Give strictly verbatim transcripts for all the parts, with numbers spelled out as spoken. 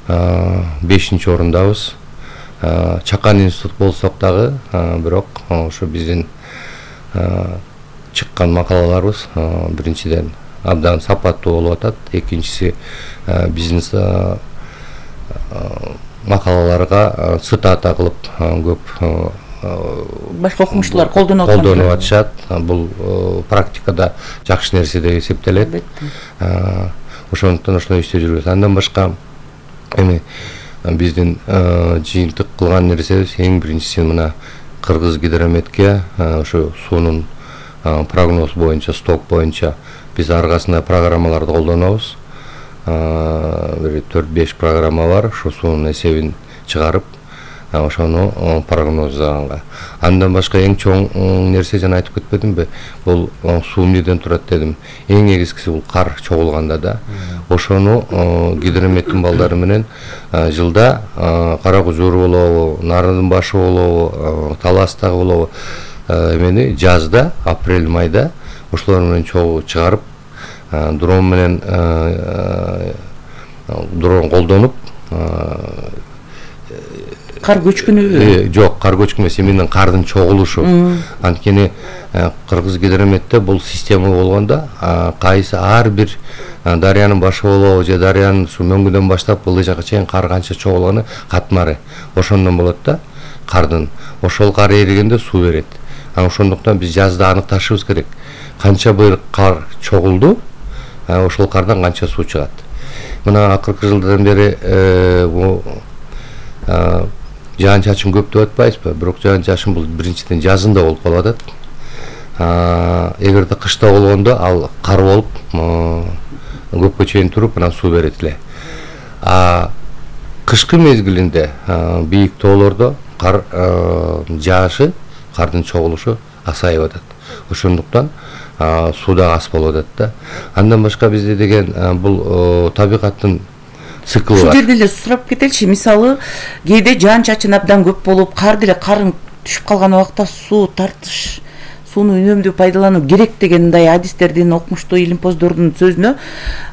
бешинчи орундабыз. Чакан институт болсок дагы, бирок ошо биздин чыккан макалаларыбыз биринчиден абдан сапаттуу болуп атат. Экинчиси биздин макалаларга цитата кылып көп башка окумуштуулар колдонуп атат. Колдонуп атышат. Бул практикада жакшы нерсе деп эсептелет. Ошондуктан ошону иштеп жүрөбүз. Андан башка эми биздин жыйынтык кылган нерсебиз эң биринчиси мына Кыргыз гидрометке ошо суунун прогноз боюнча, сток боюнча биз аргасында программаларды колдонобуз. Бир төрт беш программа бар, ошо суунун эсебин чыгарып, ошону прогноздаганга. Андан башка эң чоң нерсе жана айтып кетпедимби? Бул суу эмнеден турат дедим. Эң негизгиси бул кар чогулганда да. Ошону гидрометтин балдары менен жылда Кара Кужур болобу, Нарын башы болобу, Таластагы болобу, эмени жазда, апрель майда ошолор менен чогуу чыгарып, дрон менен дрон колдонуп, кар көчкүнү жок, кар көчкүнү эмес, эмнен кардын чогулушу. Анткени Кыргыз гидрометте бул система болгондо кайсы ар бир дарыянын башы болобу же дарыянын ушу мөңгүдөн баштап ылдый жакка чейин кар канча чогулганы катмары. Ошондон болот да кардын. Ошол кар эригенде суу берет. Ошондуктан биз жазда аныкташыбыз керек. Канча быйыл кар чогулду, ошол кардан канча суу чыгат. Мына акыркы жылдардан бери жаан чачын көп деп атпайбызбы? Бирок жаан чачын бул биринчиден жазында болуп калып атат. Эгерде кышта болгондо ал кар болуп көпкө чейин туруп, анан суу берет эле. А кышкы мезгилинде бийик тоолордо кар жаашы, кардын чогулушу азайып атат. Ошондуктан суу да аз болуп атат да. Андан башка бизде деген бул табигаттын циклы бар. Ушул жерде эле сурап кетеличи, мисалы, кээде жаан чачын абдан көп болуп, кар деле карын түшүп калган убакта суу тартыш, сууну үнөмдүү пайдалануу керек деген мындай адистердин, окумуштуу илимпоздордун сөзүнө,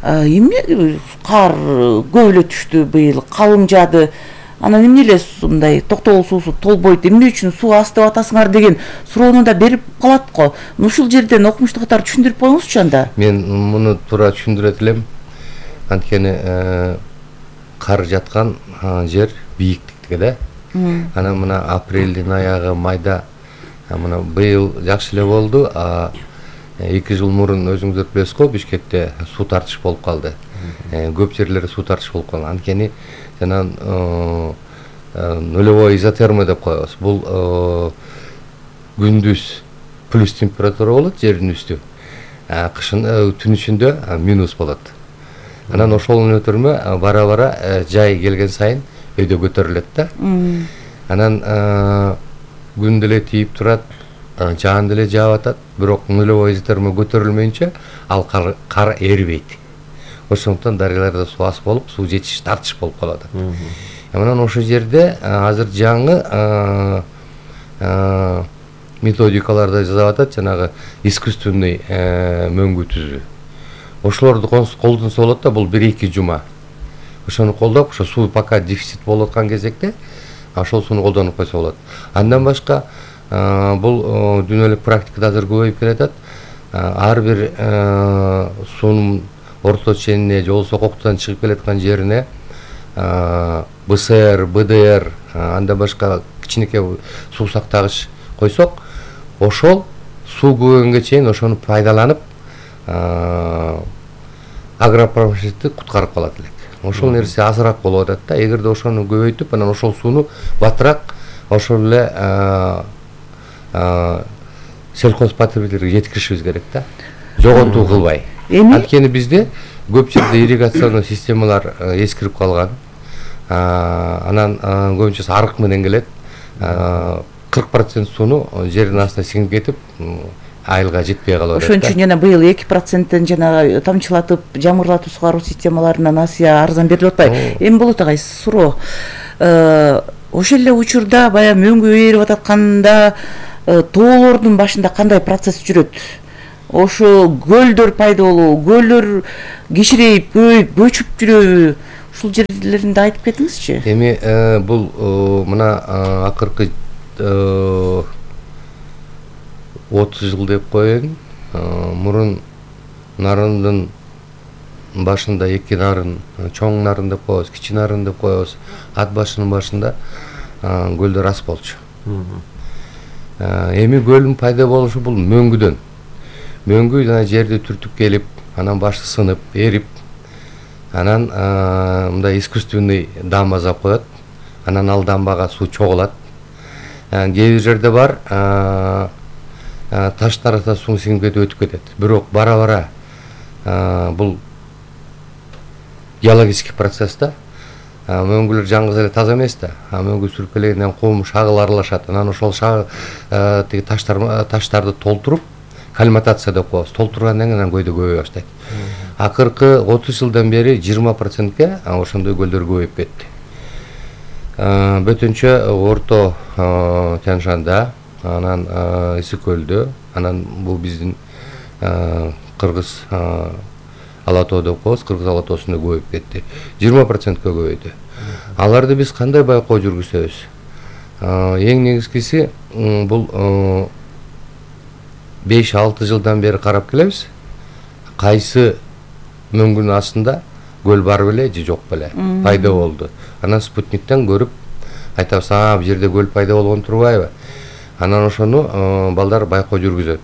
эмне кар көп эле түштү быйыл, калың жаады, анан эмне эле мындай токтогул суусу толбойт, эмне үчүн суу аз деп атасыңар деген суроону да берип калат го. Ушул жерден окумуштуу катары түшүндүрүп коюңузчу анда. Мен муну туура түшүндүрөт элем. Анткени кар жаткан жер бийиктикте да. Анан мына апрелдин аягы, майда мына быйыл жакшы эле болду. эки жыл мурун өзүңүздөр билесиз го, Бишкекте суу тартыш болуп калды. Көп жерлерде суу тартыш болуп калган. Анткени жана нулевой изотерма деп коебуз. Бул күндүз плюс температура болот, жердин үстү. Кышын түн ичинде минус болот. Анан ошол өтөрмө бара-бара жай келген сайын өйдө көтөрүлөт да. Анан күн деле тийип турат, жаан деле жаап атат, бирок нулевой изотерма көтөрүлмөйүнчө ал кар эрибейт. Ошондуктан дарыяларда суу аз болуп, суу жетиш тартыш болуп калат. Анан ошол жерде азыр жаңы методикаларда жазып атат, жанагы искусственный мөңгү түзүү. Ошолорду колдонсо болот да, бул бир-эки жума. Ошону колдоп, ошо суу пока дефицит болуп аткан кезекте ошол сууну колдонуп койсо болот. Андан башка бул дүйнөлүк практикада азыр көбөйүп келатат. Ар бир суунун орто ченине же болбосо коктон чыгып келаткан жерине бэ эс эр, бэ дэ эр, андан башка кичинекей суу сактагыч койсок, ошол суу көбөйгөнгө чейин ошону пайдаланып агропромышленникти куткарып калат элек. Ошол нерсе азыраак болуп атат да. Эгерде ошону көбөйтүп, анан ошол сууну батыраак ошол эле сельхозпотребительге жеткиришибиз керек да. Жогонтуу кылбай. Анткени бизде көп жерде ирригационный системалар эскирип калган. Анан көбүнчөсү арык менен келет. кырк процент сууну жердин астына сиңип кетип, айылга жетпей калып атат. Ошон үчүн жана быйыл эки проценттен жана тамчылатып, жамырлатып сугаруу системаларынан Асия арзан берилип атпайбы? Эми болот агай суроо. Ошол эле учурда баягы мөңгү ээрип ататканда тоолордун башында кандай процесс жүрөт? Ошо көлдөр пайда болобу, көлдөр кичирейип, көбөйүп, көчүп жүрөбү? ушул жерлеринде айтып кетиңизчи. Эми бул мына акыркы отуз жыл деп коеюн. Мурун нарындын башында эки нарын, чоң нарын деп коебуз, кичи нарын деп коебуз. Ат башынын башында көлдөр аз болчу. Эми көлдүн пайда болушу бул мөңгүдөн. Мөңгү жана жерди түртүп келип, анан башы сынып, эрип, анан мындай искусственный дам жасап коет. Анан ал дамбага суу чогулат. Кээ бир жерде бар, таштар арасында суу сиңип кетип өтүп кетет. Бирок бара-бара бул геологический процесс да. Мөңгүлөр жаңгыз эле таза эмес да. Мөңгү сүрүп келгенден кум, шагыл аралашат. Анан ошол тиги таштар таштарды толтуруп, калиматация деп коебуз. Толтургандан кийин анан көйдө көбөйө баштайт. Акыркы отуз жылдан бери жыйырма процентке ошондой көлдөр көбөйүп кетти. Бөтөнчө Орто Тянь-Шанда, анан Ысык көлдө, анан бул биздин Кыргыз Ала-тоо деп коебуз, Кыргыз Ала-тоосунда көбөйүп кетти. жыйырма процентке көбөйдү. Аларды биз кандай байкоо жүргүзөбүз? Эң негизгиси бул беш алты жылдан бери карап келебиз. Кайсы мөңгүнүн астында көл бар беле же жок беле, пайда болду. Анан спутниктен көрүп айтабыз, а бул жерде көл пайда болгон турбайбы? Анан ошону балдар байкоо жүргүзөт.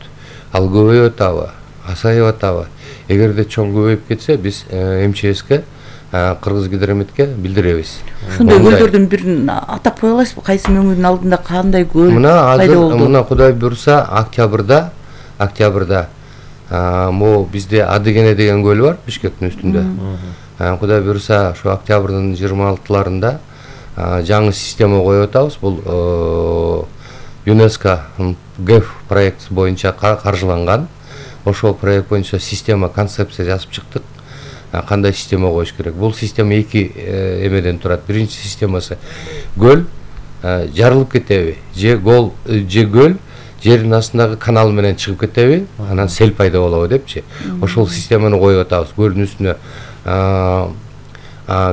Ал көбөйүп атабы, асайып атабы? Эгерде чоң көбөйүп кетсе, биз эм че эске, Кыргыз гидрометке билдиребиз. Ошондой көлдөрдүн бирин атап кое аласызбы? Кайсы мөңгүнүн алдында кандай көл пайда болду? Мына Кудай буйруса, октябрда, октябрда могу бизде Адыгене деген көл бар, Бишкектин үстүндө. Кудай буйруса, ошо октябрдын жыйырма алтыларында жаңы система коюп атабыз. Бул ЮНЕСКО ГЭФ проект боюнча каржыланган. Ошол проект боюнча система, концепция жазып чыктык. Кандай система коюш керек? Бул система эки эмеден турат. Биринчи системасы көл жарылып кетеби, же гол же көл жердин астындагы канал менен чыгып кетеби, анан сел пайда болобу депчи. Ошол системаны коюп атабыз. Көлдүн үстүнө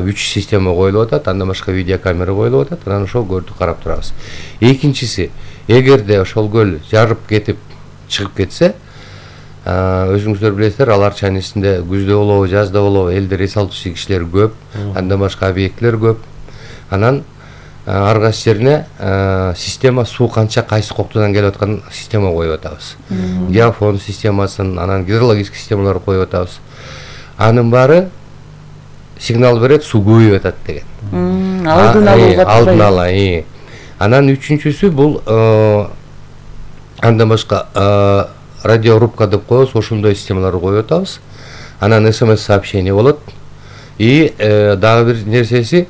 үч система коюлуп атат, андан башка видеокамера коюлуп атат, анан ошол көлдү карап турабыз. Экинчиси, эгерде ошол көл жарып кетип чыгып кетсе, өзүңүздөр билесиздер, Ала Арчанын ичинде күздө болобу, жазда болобу, элде эс алуучу кишилер көп, андан башка объектилер көп. Анан ар кайсы жерине система суу канча кайсы коктудан келип аткан система коюп атабыз. Геофон системасын, анан гидрологический системаларды коюп атабыз. Анын баары сигнал берет, суу көбөйүп атат деген. Алдын алууга. Алдын ала. Анан үчүнчүсү бул андан башка радиорубка деп коебуз, ошондой системаларды коюп атабыз. Анан смс сообщение болот. И дагы бир нерсеси,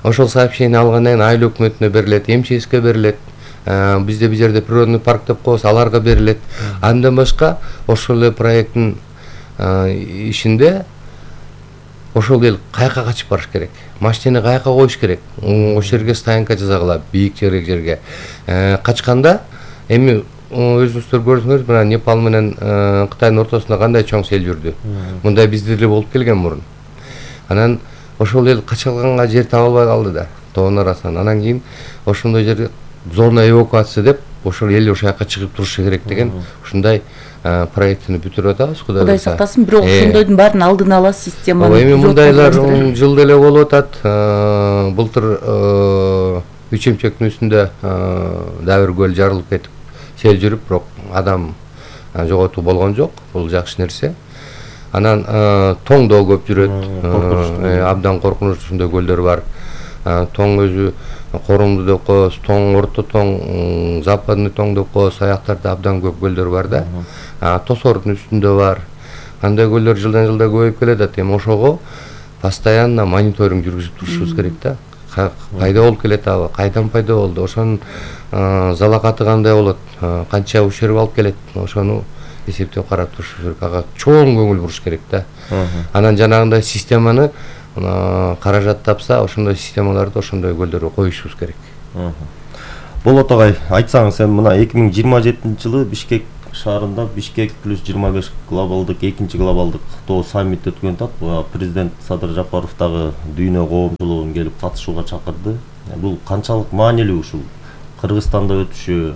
ошол сообщение алгандан кийин айыл өкмөтүнө берилет, эм че эске берилет. Бизде бир жерде природный парк деп коебуз, аларга берилет. Андан башка ошол эле проекттин ишинде ошол эл каяка качып барыш керек, машинени каяка коюш керек, ошол жерге стоянка жасагыла, бийик жерге. Качканда эми өзүңүздөр көрдүңүз, мына Непал менен Кытайдын ортосунда кандай чоң сел жүрдү. Мындай бизде деле болуп келген мурун. Анан ошол эл качалганга жер таба албай калды да, тоонун арасынан. Анан кийин ошондой жерге зона эвакуация деп, ошол эл ошол жака чыгып турушу керек деген ушундай проектини бүтүрүп атабыз. Кудай сактасын, бирок ошондойдун баарын алдын ала системаны. Эми мындайлар жыл деле болуп атат. Былтыр үч эмчектин үстүндө дагы бир көл жарылып кетип сел жүрүп, бирок адам жоготуу болгон жок. Бул жакшы нерсе. Анан тоң да көп жүрөт. Абдан коркунучтуу ушундай көлдөр бар. Тоң өзү Корумду деп коебуз, тоң, орто тоң, западный тоң деп коебуз, аяктарда абдан көп көлдөр бар да. Тосордун үстүндө бар. Андай көлдөр жылдан жылда көбөйүп келатат. Эми ошого постоянно мониторинг жүргүзүп турушубуз керек да. Пайда болуп келетаби, кайдан пайда болду, ошонун залакаты кандай болот, канча ущерб алып келет, ошону эсептеп карап туруш керек. Ага чоң көңүл буруш керек да. Анан жанагындай системаны каражат тапса, ошондой системаларды ошондой көлдөргө коюшубуз керек. Болот агай, айтсаңыз, эми мына эки миң жыйырма жетинчи жылы Бишкек шаарында Бишкек плюс жыйырма беш глобалдык экинчи глобалдык каттоо саммит өткөн атат. Президент Садыр Жапаров дагы дүйнө коомчулугун келип катышууга чакырды. Бул канчалык маанилүү ушул Кыргызстанда өтүшү,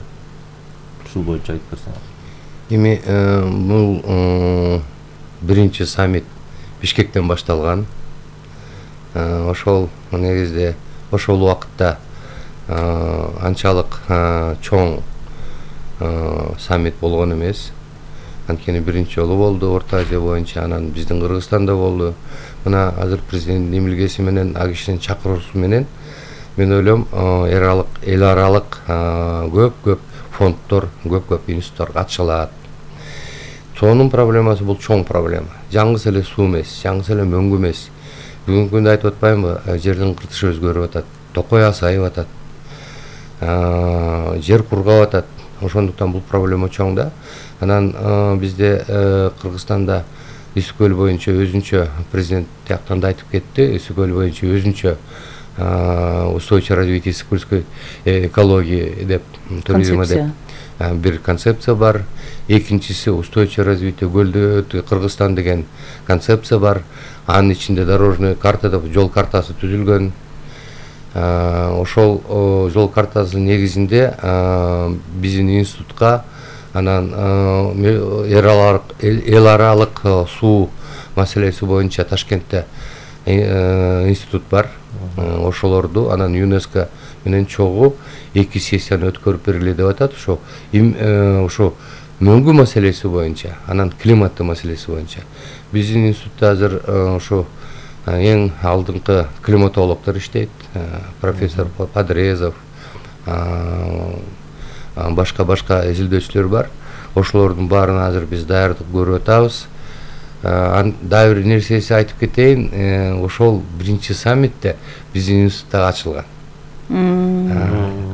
ушул боюнча айтып берсеңиз. Эми бул биринчи саммит Бишкектен башталган. Ошол негизде ошол убакытта анчалык чоң саммит болгон эмес. Анткени биринчи жолу болду Орто Азия боюнча, анан биздин Кыргызстанда болду. Мына азыр президенттин эмилгеси менен, а кишинин чакыруусу менен мен ойлойм эл аралык эл аралык көп-көп фонддор, көп-көп институттар ачылат. Сонун проблемасы бул чоң проблема. Жаңгыс эле суу эмес, жаңгыс эле мөңгү эмес. Бүгүнкү күндө айтып атпаймынбы, жердин кыртышы өзгөрүп атат, токой азайып атат, жер кургап атат. Ошондуктан бул проблема чоң да. Анан бизде Кыргызстанда Исү көл боюнча өзүнчө президент тияктан да айтып кетти. Исү көл боюнча өзүнчө устойчивое развитие сыкульской экологии деп, туризма деп бир концепция бар. Экинчиси устойчивое развитие көлдө Кыргызстан деген концепция бар. Анын ичинде дорожный карта деп жол картасы түзүлгөн. Ошол жол картасынын негизинде биздин институтка анан эл аралык суу маселеси боюнча Ташкентте институт бар. Ошолорду анан ЮНЕСКО менен чогуу эки сессияны өткөрүп бергиле деп атат. Ошо ошо мөңгү маселеси боюнча, анан климаттын маселеси боюнча. Биздин институтта азыр ошо эң алдыңкы климатологдор иштейт. Профессор Подрезов, башка-башка изилдөөчүлөр бар. Ошолордун баарын азыр биз даярдык көрүп атабыз. Дагы бир нерсеси айтып кетейин, ошол биринчи саммитте биздин институтта ачылган.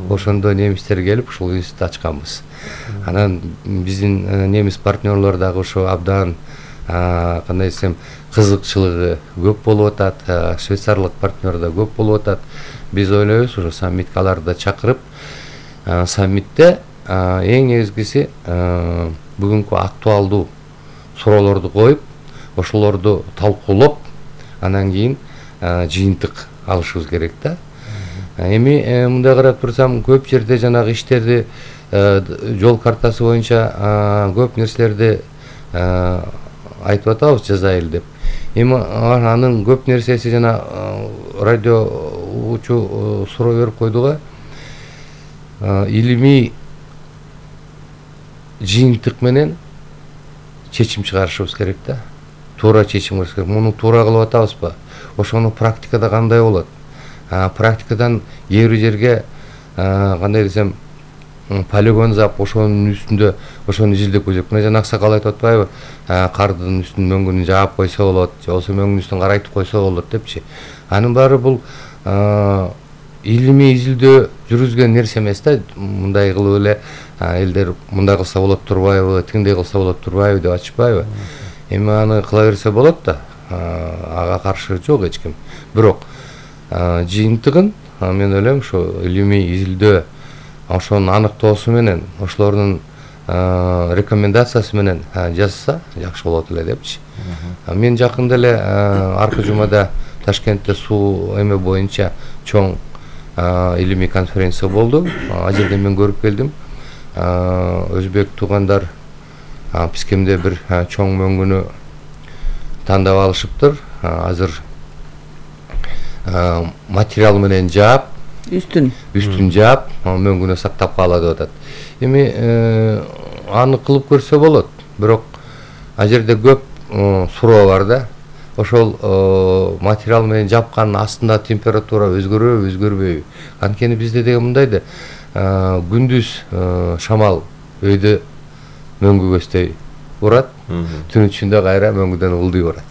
Ошондо немистер келип ушул институт ачканбыз. Анан биздин немис партнерлор дагы ошо абдан кандай десем кызыкчылыгы көп болуп атат, швейцарлык партнер да көп болуп атат. Биз ойлойбуз ошо саммитке аларды да чакырып, саммитте эң негизгиси бүгүнкү актуалдуу суроолорду коюп, ошолорду талкуулап, анан кийин жыйынтык алышыбыз керек да. Эми мындай карап турсам, көп жерде жанагы иштерди жол картасы боюнча көп нерселерди айтып атабыз, жазайлы деп. Эми анын көп нерсеси жана радиоучу суроо берип койду го. Илимий жыйынтык менен чечим чыгарышыбыз керек да. Туура чечим керек. Муну туура кылып атабызбы? Ошону практикада кандай болот? Практикадан кээ бир жерге кандай десем полигон зап, ошонун үстүндө ошону изилдеп көзөп. Мына жана аксакал айтып атпайбы? Кардын үстүн мөңгүн жаап койсо болот, же болбосо мөңгүн үстүн карайтып койсо болот депчи. Анын баары бул илимий изилдөө жүргүзгөн нерсе эмес да. Мындай кылып эле элдер мындай кылса болот турбайбы, тиңдей кылса болот турбайбы деп ачпайбы? Эми аны кыла берсе болот да. Ага каршы жок эч ким. Бирок жыйынтыгын мен ойлойм ошо илимий изилдөө ошонун аныктоосу менен, ошолордун рекомендациясы менен жазса жакшы болот эле депчи. Мен жакында эле аркы жумада Ташкентте суу эме боюнча чоң илимий конференция болду. Ал жерде мен көрүп келдим. Өзбек туугандар Пискемде бир чоң мөңгүнү тандап алышыптыр. Азыр материал менен жаап, үстүн үстүн жаап, мөңгүнө сактап калат деп атат. Эми аны кылып көрсө болот. Бирок ал жерде көп суроо бар да. Ошол материал менен жапкандын астында температура өзгөрөбү, өзгөрбөйбү? Анткени бизде деген мындай да, күндүз шамал өйдө мөңгү көздөй урат, түн ичинде кайра мөңгүдөн ылдый урат.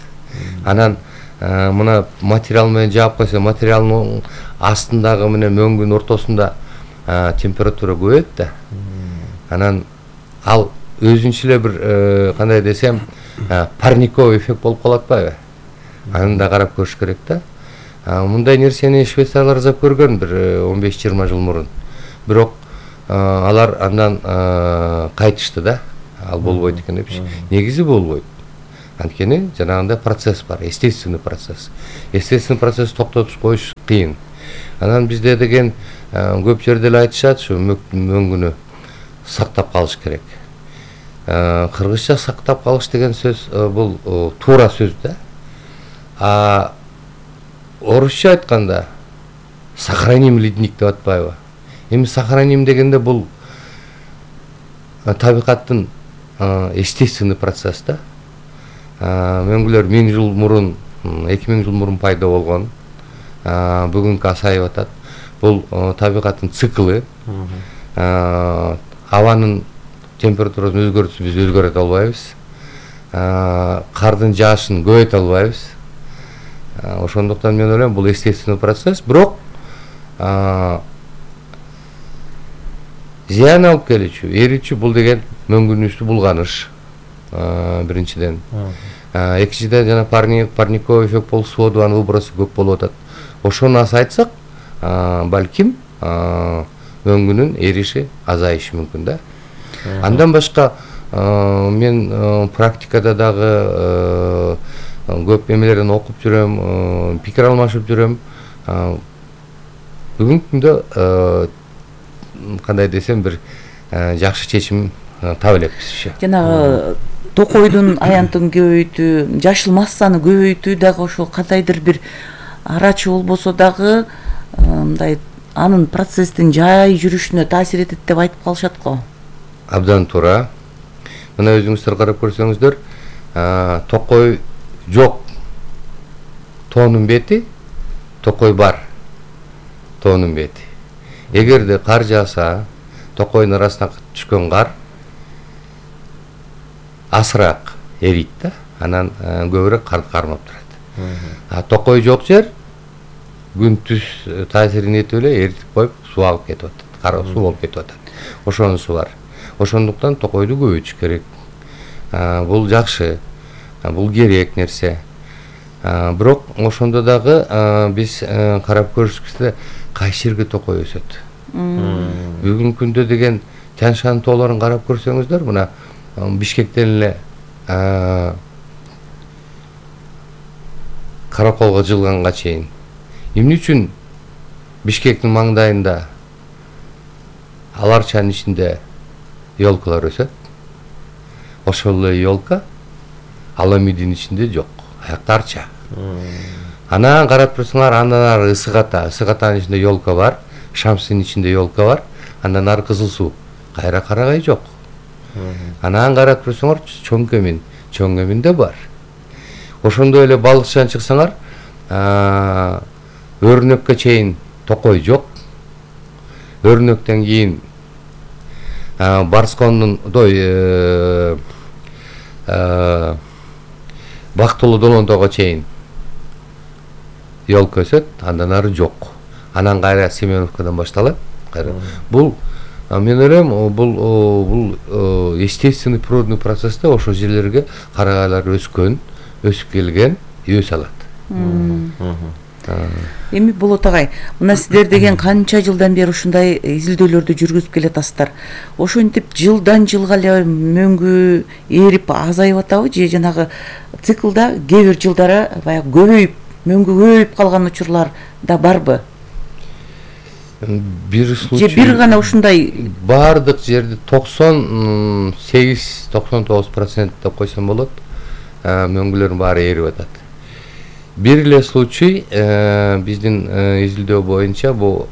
Анан мына материал менен жаап койсо, материалдын астындагы менен мөңгүнүн ортосунда температура көбөйөт да. Анан ал өзүнчө эле бир кандай десем, парниковый эффект болуп калат атпайбы? Аны да карап көрүш керек да. Мындай нерсени швейцарлар жасап көргөн бир он беш жыйырма жыл мурун. Бирок алар андан кайтышты да. ал болбойт экен депчи. Негизи болбойт. Анткени жанагындай процесс бар, естественный процесс. Естественный процесс токтотуп коюш кыйын. Анан бизде деген көп жерде эле айтышат, ушу мөңгүнү сактап калыш керек. Кыргызча сактап калыш деген сөз бул туура сөз да. А орусча айтканда сохраним ледник деп атпайбы? Эми сохраним дегенде бул табигаттын естественный процесс да. Мөңгүлөр миң жыл мурун, эки миң жыл мурун пайда болгон. Бүгүнкү асайып атат. Бул табигаттын циклы. Абанын температурасын өзгөртүп биз өзгөртө албайбыз. Кардын жаашын көбөйтө албайбыз. Ошондуктан мен ойлойм бул естественный процесс, бирок зыян алып келүүчү, эрүүчү бул деген мөңгүнүштү булганыш. Биринчиден. Экинчиден жана парниковый эффект болуп суу анын выбросу көп болуп атат. Ошону азайтсак, балким мөңгүнүн эриши азайышы мүмкүн да. Андан башка мен практикада дагы көп эмелерден окуп жүрөм, пикир алмашып жүрөм. Бүгүнкү күндө кандай десем бир жакшы чечим таба элекпиз. Жанагы токойдун аянтын көбөйтүү, жашыл массаны көбөйтүү дагы ошол кандайдыр бир арачы болбосо дагы мындай анын процесстин жай жүрүшүнө таасир этет деп айтып калышат го. Абдан туура. Мына өзүңүздөр карап көрсөңүздөр, токой жок, тоонун бети, токой бар, тоонун бети. Эгерде кар жааса, токойдун арасына түшкөн кар асыраак эрийт да, анан көбүрөөк карды кармап турат. А токой жок жер күн түз таасирин этип эле эритип коюп суу алып кетип атат, кара суу болуп кетип атат. Ошонусу бар. Ошондуктан токойду көбөйтүш керек. Бул жакшы, бул керек нерсе. Бирок ошондо дагы биз карап көрүшкүбүздө кайсы жерге токой өсөт. Бүгүнкү күндө деген Тянь-Шань тоолорун карап көрсөңүздөр, мына Бишкектен эле Караколго жылганга чейин. Эмне үчүн Бишкектин маңдайында Аларчанын ичинде елкалар өсөт? Ошол эле елка Аламидин ичинде жок, аякта арча. Анан карап турсаңар, андан ары ысык ата, ысык атанын ичинде елка бар, Шамсынын ичинде елка бар, андан ары Кызыл суу, кайра Карагай жок. Анан карап турсаңар, Чоң Кемин, Чоң Кеминде бар. Ошондой эле Балыкчан чыксаңар, Өрнөккө чейин токой жок. Өрнөктөн кийин Барскондун дой Бактылуу Долондого чейин елка өсөт, андан ары жок. Анан кайра Семеновкадан башталат. Бул мен ойлойм, бул бул естественный природный процессте ошол жерлерге карагайлар өскөн, өсүп келген, өсө алат. Эми Болот агай, мына сиздер деген канча жылдан бери ушундай изилдөөлөрдү жүргүзүп келатасыздар. Ошентип жылдан жылга эле мөңгү эрип азайып атабы же жанагы циклда кээ бир жылдары баягы көбөйүп, мөңгү көбөйүп калган учурлар да барбы? Бир случай. Же бир гана ушундай бардык жерде токсон сегиз токсон тогуз процент деп койсом болот. Мөңгүлөрдүн баары эрип атат. Бир эле случай биздин изилдөө боюнча бул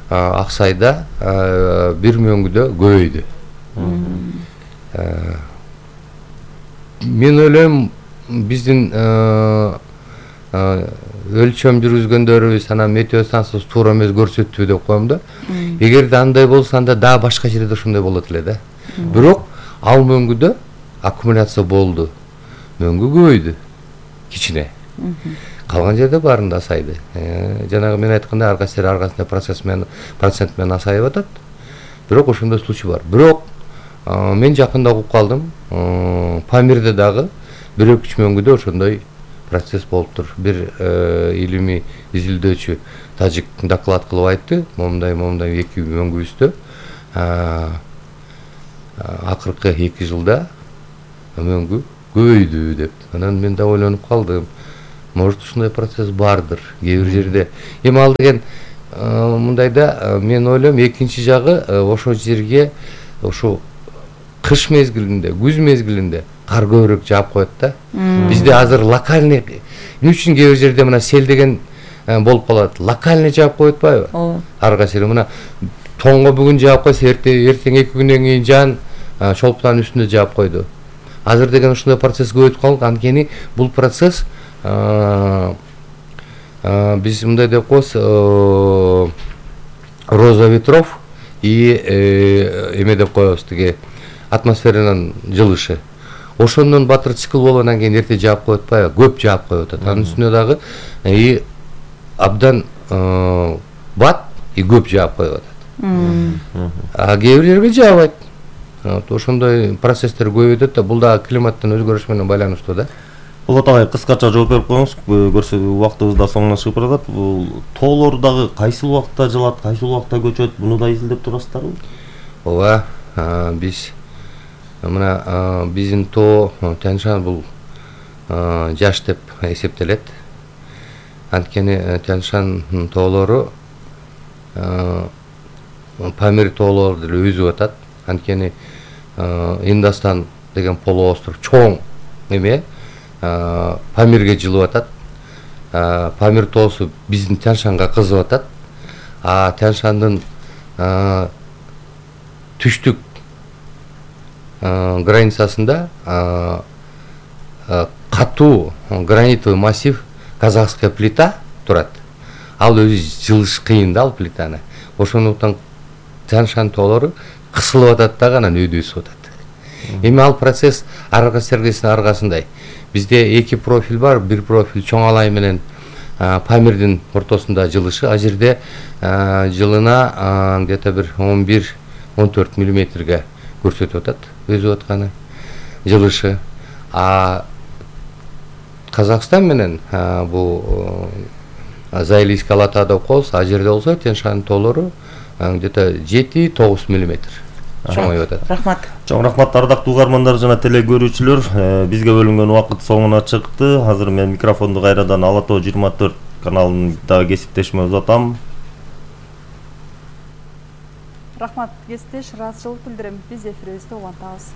Аксайда бир мөңгүдө көбөйдү. Мен ойлойм, биздин өлчөм жүргүзгөндөрүбүз анан метео станциясы туура эмес көрсөттү деп коем да. Эгерде андай болсо, анда дагы башка жерде ошондой болот эле да. Бирок ал мөңгүдө аккумуляция болду. Мөңгү көбөйдү. Кичине. Калган жерде баарында асайды. Жанагы мен айткандай ар кайсы ар кайсы процесс менен процент менен асайып атат. Бирок ошондой случай бар. Бирок мен жакында угуп калдым. Памирде дагы бир үч мөңгүдө ошондой процесс болуптур. Бир илимий изилдөөчү тажик доклад кылып айтты. Момундай момундай эки мөңгүбүздө акыркы эки жылда мөңгү көбөйдү деп. Анан мен да ойлонуп калдым. Может ушундай процесс бардыр кээ бир жерде. Эми ал деген мындайда мен ойлойм экинчи жагы ошол жерге ошо кыш мезгилинде, күз мезгилинде кар көбүрөөк жаап коет да. Бизде азыр локальный эмне үчүн кээ бир жерде мына сел деген болуп калат. Локальный жаап коюп атпайбы? Ооба. Ар кайсы мына тоңго бүгүн жаап койсо эртең эки күндөн кийин жан шолпудан үстүнө жаап койду. Азыр деген ушундай процесс көбөйүп калды. Анткени бул процесс биз мындай деп коебуз, роза ветров и эме деп коебуз, тиги атмосферанын жылышы. Ошондон батыр цикл болуп анан кийин эрте жаап коюп атпайбы? Көп жаап коюп атат. Анын үстүнө дагы и абдан бат и көп жаап коюп атат. А кээ бир жерге жаабайт. Вот ошондой процесстер көбөйүп атат да. Бул дагы климаттын өзгөрүшү менен байланыштуу да. Болот агай, кыскача жооп берип коюңуз. Көрсө убактыбыз да соңуна чыгып баратат. Бул тоолор дагы кайсыл убакта жылат, кайсыл убакта көчөт? Муну да изилдеп турасыздарбы? Ооба, биз мына биздин тоо Тянь-Шань бул жаш деп эсептелет. Анткени Тянь-Шань тоолору Памир тоолору деп өзүп атат. Анткени Индостан деген полуостров чоң эме Памирге жылып атат. Памир тоосу биздин Тянь-Шаньга кызып атат. А Тянь-Шаньдын түштүк границасында катуу гранитовый массив казахская плита турат. Ал өзү жылыш кыйын да ал плитаны. Ошондуктан Тянь-Шань тоолору кысылып атат дагы анан өйдөсүп атат. Эми ал процесс ар кайсынын аркасындай. Бизде эки профиль бар. Бир профиль чоң алай менен Памирдин ортосунда жылышы. А жерде жылына где-то бир он бир он төрт миллиметрге көрсөтүп атат өзүп атканы жылышы. А Казакстан менен бул Заилийский Алата деп коебуз. А жерде болсо Тянь-Шань тоолору где-то жети тогуз миллиметр чоңоюп атат. Рахмат. Чоң рахмат ардактуу угармандар жана теле көрүүчүлөр. Бизге бөлүнгөн убакыт соңуна чыкты. Азыр мен микрофонду кайрадан Ала Тоо жыйырма төрт каналындагы кесиптешиме узатам. Рахмат, кесиптеш, ыраазычылык билдирем. Биз эфирибизди улантабыз.